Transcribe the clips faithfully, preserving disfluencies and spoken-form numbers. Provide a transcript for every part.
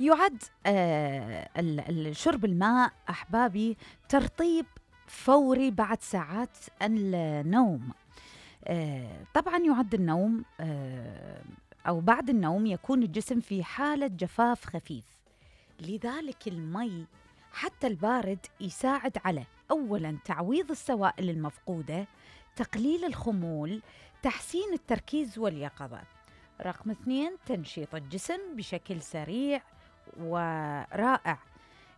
يعد آه ال- ال- شرب الماء أحبابي ترطيب فوري بعد ساعات النوم. آه طبعا يعد النوم آه أو بعد النوم يكون الجسم في حالة جفاف خفيف، لذلك المي حتى البارد يساعد على أولاً تعويض السوائل المفقودة، تقليل الخمول، تحسين التركيز واليقظة. رقم اثنين، تنشيط الجسم بشكل سريع ورائع.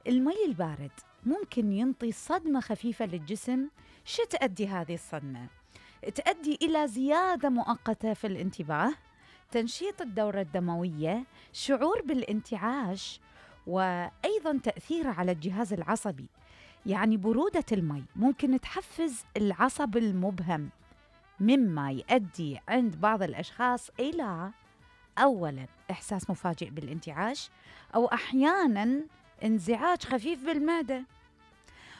المي البارد ممكن ينطي صدمة خفيفة للجسم. شو تؤدي هذه الصدمة؟ تؤدي إلى زيادة مؤقتة في الانتباه، تنشيط الدورة الدموية، شعور بالانتعاش، وأيضاً تأثير على الجهاز العصبي. يعني برودة المي ممكن تحفز العصب المبهم، مما يؤدي عند بعض الأشخاص إلى أولاً إحساس مفاجئ بالانتعاش، أو أحياناً انزعاج خفيف بالمعدة.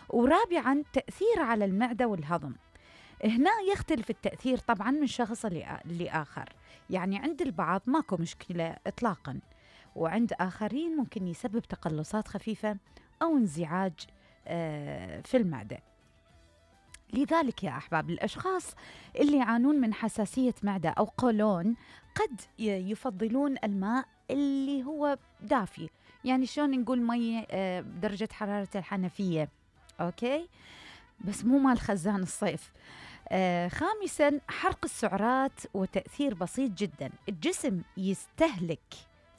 ورابعاً تأثير على المعدة والهضم. هنا يختلف التأثير طبعاً من شخص لآخر، يعني عند البعض ماكو مشكلة إطلاقاً، وعند آخرين ممكن يسبب تقلصات خفيفة أو انزعاج في المعدة. لذلك يا أحباب، الأشخاص اللي يعانون من حساسية معدة أو قولون قد يفضلون الماء اللي هو دافي، يعني شلون نقول مي بدرجة حرارة الحنفية، أوكي، بس مو مال خزان الصيف. آه خامساً، حرق السعرات وتأثير بسيط جداً. الجسم يستهلك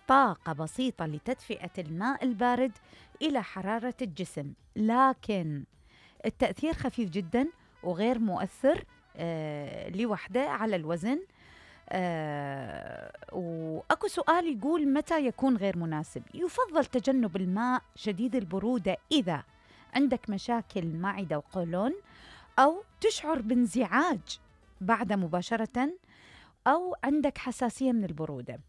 طاقة بسيطة لتدفئة الماء البارد إلى حرارة الجسم، لكن التأثير خفيف جداً وغير مؤثر آه لوحده على الوزن. آه وأكو سؤال يقول متى يكون غير مناسب؟ يفضل تجنب الماء شديد البرودة إذا عندك مشاكل معدة وقولون، أو تشعر بانزعاج بعد مباشرة، أو عندك حساسية من البرودة.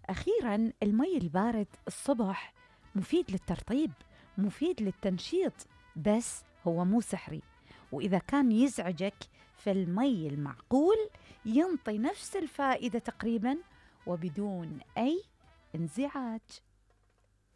أخيراً، المي البارد الصبح مفيد للترطيب، مفيد للتنشيط، بس هو مو سحري. وإذا كان يزعجك فالمي المعقول ينطي نفس الفائدة تقريباً وبدون أي انزعاج.